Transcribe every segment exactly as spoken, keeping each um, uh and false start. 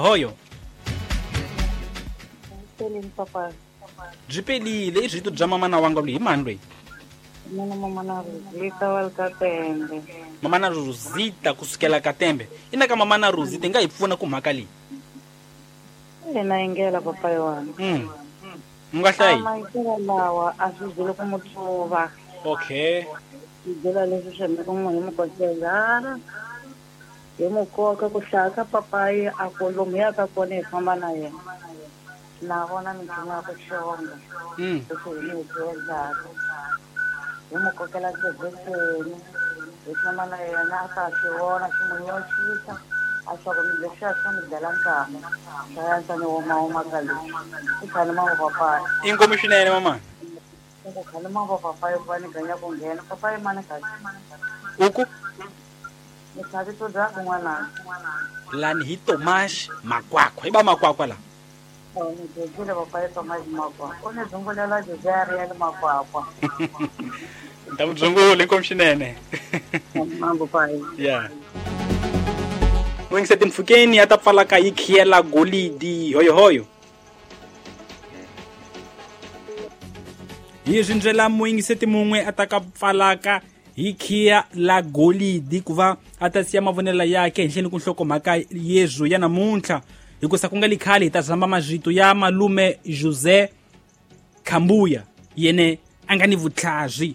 Hoyo. Pelini papa. Byi pelile i rito bya mamana wanga loyi hi mani loyi? Mina mamana Rosita wa le Katembe. Mamana Rosita kusukela Katembe. Ina ka mamana Rosita nga hi pfuna ku mhaka leyi. Ina yingela papa yona. Mm. U nga hlayi. Maitelo lawa a swi byele ku mutsuva. Okay. Swi byela leswi swi endlaka munhu hi mukosezana. Hi mukoka ku hlaya ka papayi a ku lomu yaka kona hi famba na yena. Na vona minchumu ya ku xonga. Mm. Leswi hi mi swi endlaka. Hi mu kokela xibekweni. Hi famba na yena a ta swi vona swi n'wi nyoxisa. A swa ku leswiya swi n'wi dlela nkama. Swa yantswa ni woma ka leswi. I khalima va papayi. Inkomu swinene mama. Ku khalima va papayi ku va ni ganya ku nghena. Papayi mani kahle. Uku? Ni vito bya kun'wana. Lani hi Tomash Makwakwa. Hi ba Makwakwa la. Ni dyondzile papayi Tomash Makwakwa. U ni dzungulela Jozari ya le Makwakwa. Ni ta ku dzungula inkomu swinene. Mambo payi. Yeah. N'wingiseti mpfhukeni ya ta pfalaka yi khiyela golidi hoyohoyo. Hi ndlela muyingiseti mun'we a ta ka pfalaka hi khiya la golidi ku va a ta siya mavonelo yakhe henhleni ku nhlokomhaka yezu ya namuntlha hikusa ku nga li khale hi ta zamba mazvito ya malume Jose Khambuya yene a nga ni vutlhazwi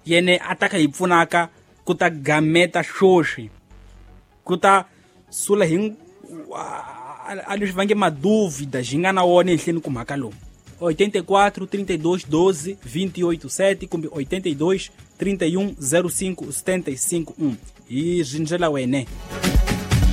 yene a ta ka hi pfunaka ku ta gameta xoxi ku ta sula hi a leswi va nge maduvida xi nga na wona henhleni ku mhaka lowu. oitenta e quatro, trinta e dois, doze, vinte e oito, sete kumbe oitenta e dois, trinta e um, zero cinco, setenta e cinco, um. Hi zwi ndlela wene.